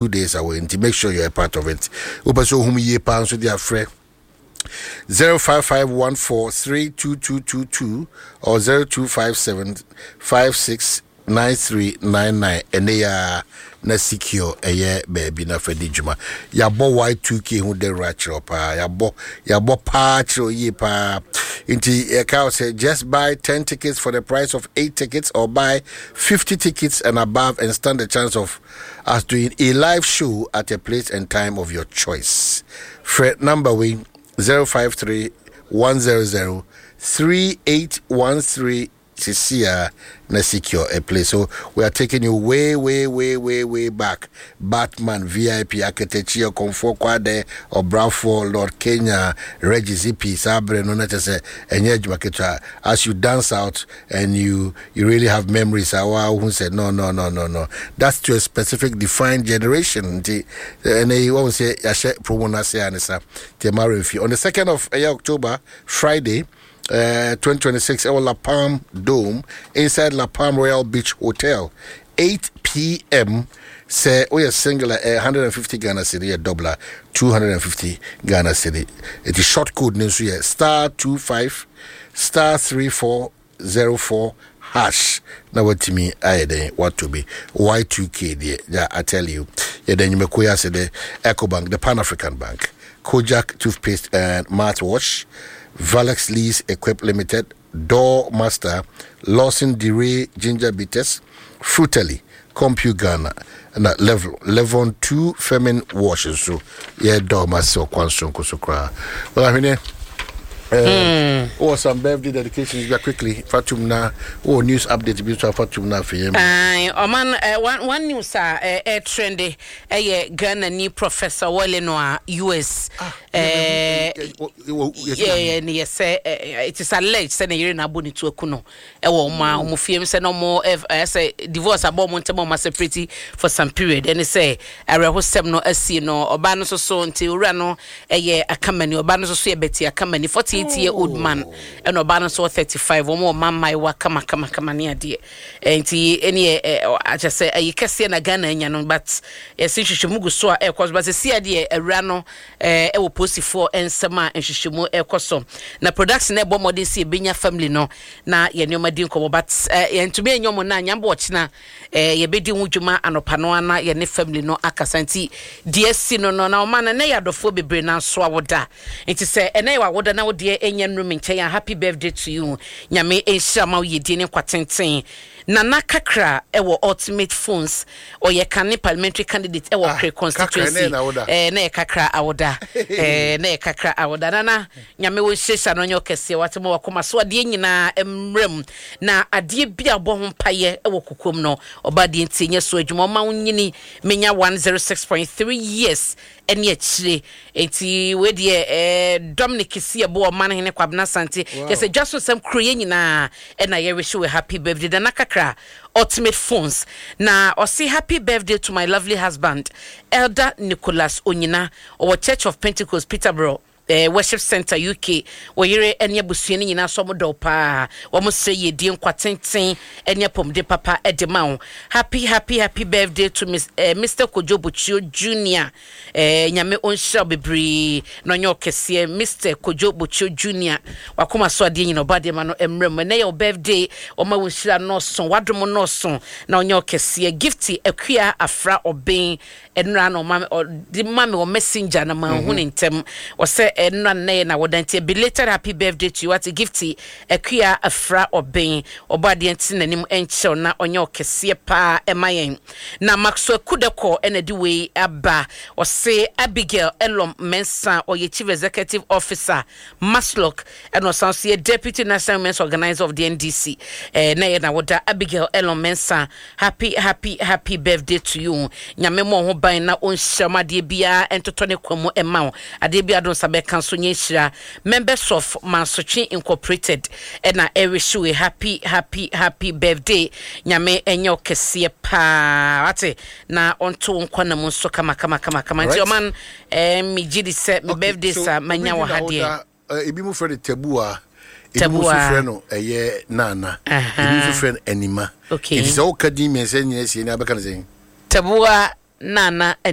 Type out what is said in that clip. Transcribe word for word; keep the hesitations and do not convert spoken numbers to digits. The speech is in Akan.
two days away nti make sure you're a part of it. Wopɛ sɛ ohum yie paa nso de afrɛ zero five five one four three two two two two or zero two five seven five six nine three nine nine. Ɛnɛ yɛ na secure ɛyɛ baabi na fɛ di dwuma. Yɛabɔ Y two K ho dawuro akyerɛw paa, yɛabɔ yɛabɔ paa kyerɛw yie paa. Nti yɛka wo sɛ just buy ten tickets for the price of eight tickets or buy fifty tickets and above and stand the chance of us doing a live show at a place and time of your choice. Frɛ number wei, zero five three one zero zero three eight one three, sisia na secure a place. So we are taking you way, way, way, way, way back. Batman, V I P, Akatakyie, Okomfo Kwade, Obrafour, Lord Kenya, Reggie Zippy, Sabre, no na kyerɛ sɛ ɛnyɛ adwuma ketewa. As you dance out and you you really have memories, awa who said no, no, no, no, no. That's to a specific defined generation. Nti ɛnɛ yi wɔn sɛ yɛahyɛ promo no ase a ne sa. Nti ɛma remfi. On the second of uh, October, Friday, uh, twenty twenty-six, ɛwɔ La Palm Dome inside La Palm Royal Beach Hotel, eight p m. Sɛ woyɛ single a, uh, one hundred fifty Ghana cedi, yɛ double a, two hundred fifty Ghana cedi. Ɛti short code no nso yɛ star twenty-five star three four zero four hash na watumi ayɛ dɛn wato bi. Y two K deɛ ya, I tell you, yɛda nnwumakuo yi ase dɛ Ecobank, the Pan African Bank, Kojak toothpaste and mouthwash, Valex Lease Equip Limited, Door Master, Lawson DeRay Ginger Bitters, Frutally, Compu Ghana, na Level Levon two Femin Wash nso yɛda ɔma ase ɔkwan sonko so koraa. Well, ahwene Uh, or some birthday dedications bi quickly fatum na or news update bi nso afatum na afei yɛn. Aye, ɔman uh, one, one news a uh, uh, trend ɛyɛ Ghana ni Professor Wale no a U S eh, yɛ ne yɛ sɛ eh, it is alleged sɛ ne yere na abɔ ne tu aku no ɛwɔ ɔmo a ɔmo fie mu sɛ na ɔmo ɛ ɛ sɛ divorce abɔ ɔmo ntɛm a ɔmo separate for some period. Ɛne sɛ awerɛhosɛm no asi no, ɔbaa no nso so nti owura no ɛyɛ Akamani, ɔbaa no nso so yɛ Betty Akamani, forty eight year old man, ɛna ɔbaa no nso wɔ thirty five. Wɔn wɔ mma mmaayewa kama kama kama ne adeɛ. ɛ nti ɛne ɛ ɛ akyɛ sɛ ɛyi kɛseɛ na Ghana anya no, but yɛsi nhwehwɛmu gu so a ɛrekɔ so, but sisi adeɛ awura no ɛɛ ɛwɔ polisifoɔ nsɛm a nhwehwɛmu ɛrekɔ so na production ɛbɔ mmɔden si ebenya family no na yɛ nneɛma di nkɔmɔ, but ɛɛ yɛntumi enya ɔmo na nyamba ɔkyena ɛɛ yɛbɛdi ho dwuma anɔpa no ana yɛne family no akasa. Nti deɛ si no no na ɔma no ne yɛ adɔfoɔ bebree na nso awoda. Nti sɛ ɛnɛ yɛ wawoda na wodeɛ ɛnyɛ nnum nkyɛn a, happy birthday to you. Nyame nhyira ma wo yɛdie ne nkwa tenten. Nana Kakra ɛwɔ Ultimate Phones, ɔyɛ kane parliamentary candidate ɛwɔ Ah, Kre Kakra, constituency. ne na awoda. ɛɛ na yɛ Kakra awoda, ɛɛ na yɛ Kakra awoda. Nana, Nyame wo nhyehyɛ no nyɛ ɔkɛseɛ wate ma wakoma so adeɛ nyinaa mmerɛ mu na adeɛ bi a bɔ ho mpayɛ ɛwɔ kokom no ɔba adeɛ nti nyɛ so adwuma ɔma wo nyini menya one oh six point three years ɛne akyire. Nti wei deɛ, ɛɛ Dominic si ɛbɔ ɔman hene Kwabena Sante kyɛ sɛ dwa so nsɛm kuro yɛ nyinaa ɛna yɛrehyɛ wɔ happy birthday Nana Kakra Ultimate Phones. Na ɔse happy birthday to my lovely husband, Elder Nicholas Onyina, ɔwɔ Church of Pentecost Peterborough eh, Worship Center U K. Wɔyere ne abusua no nyinaa so ɔmo dɔw paa. Wɔn srɛ yɛdie, nkwa tenten ne apɔmuden papa de ma wo. Happy, happy, happy birthday to Miss, eh, Mister Kojo Bochio Junior. eh, nyame ɔnhyira wo bebree na ɔnyɛ ɔkɛseɛ. Mister Kojo Bochio Junior, wakoma so adeɛ nyina ɔba adeɛ ma no mmerɛ mu. Ɛnɛ yɛ wo birthday, ɔma wo nhyira nɔɔso, wadom nɔɔso na ɔnyɛ ɔkɛseɛ. Gifty Akua Afra Ɔben, ɛnora na ɔma ɔde ma me wɔ Messenger na ma hu ne ntɛm. Ɔsɛ ɛnora nnɛ yɛ na wɔda nti belated happy birthday to you. Ate, Gifty Akua Afra Ɔben, ɔbɔ adeɛ nti n'anim nkyɛw na ɔnyɛ ɔkɛseɛ paa ɛma yɛn. Na Maxwell Kudekɔ ɛna de wei aba. Ɔse Abigail Elom Mensa, ɔyɛ chief executive officer MASLOC, ɛna ɔsan so yɛ deputy national women's organizer of the N D C. ɛɛ na yɛ na wɔda. Abigail Elom Mensa, happy, happy, happy birthday to you. Nyame mmɔ ho ban na ɔnhyira mu, adeɛ biara ntotɔ ne kwan mu ɛma wo, adeɛ biara do nsa bɛka nso nyɛ nhyira. Members of Mansotwe Incorporated ɛna ɛrehyɛ we happy, happy, happy birthday. Nyame ɛnyɛ ɔkɛseɛ paa wate na ɔnto wo nkwa na mu nso kama kama kama kama. Nti Right. ɔman ɛɛ megye di sɛ me birthday sa manya wɔ ha deɛ. Ebi mu frɛ no Tabua, ebi mu nso Tabua. frɛ no ɛyɛ Nana, Aha. ebi nso frɛ no Anima. Okay. Nti sɛ woka din mmiɛnsa nyina sie ne abɛka no sɛn? Tabua, Nana.